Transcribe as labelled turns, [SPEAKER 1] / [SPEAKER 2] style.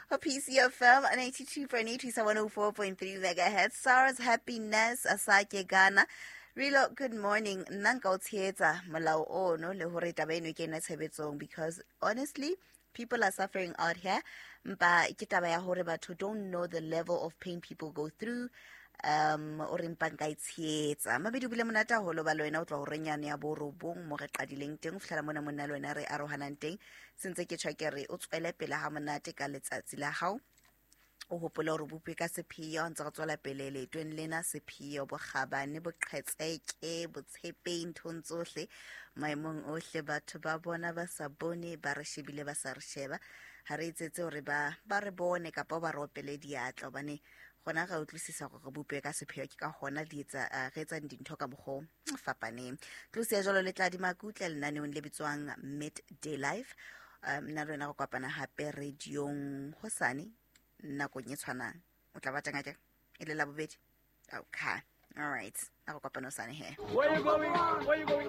[SPEAKER 1] Ho PCFM 92.8 isa 104.3 megahertz. Sarah's happiness Asake Ghana. Rilo, good morning. Nna nka o tshehetsa molao ono le hore taba eno e kene tshebetsong because honestly people are suffering out here. Mpa ke taba ya hore batho don't know the level of pain people go through. O re mpa nka e tshehetsa. Mabedi o bile monate haholo ba le wena o tloha horeng yane ya borobong mo re qadileng teng ho fihlela mona monna le wena re arohanang teng. Sentse ke tjho ke re o tswele pele ha monate ka letsatsi la hao. O hopole hore bopwe ka sepheo ntse re tswela pele leetong lena, sepheo, bokgabane, boqhetseke, botshepehi nthong tsohle, maemong ohle. Batho ba bona ba sa bone, ba re shebile ba sa re sheba. Ha re etsetse hore ba re bone kapa ba re opele diatla, hobane gona re utlwisisa hore re bopwe ka sepheo, ke ka hona di etsa, re etsang dintho ka mokgwa o fapaneng. Tlosi ya jwalo le tla di makutle lenaneong le bitswang Midday Life. Nna le wena re kopana hape radiong hosane nakong e tshwanang. O tla ba teng akere? E le Labobedi? Okay. All right. A re kopane hosane he.
[SPEAKER 2] Where you going? Where you going?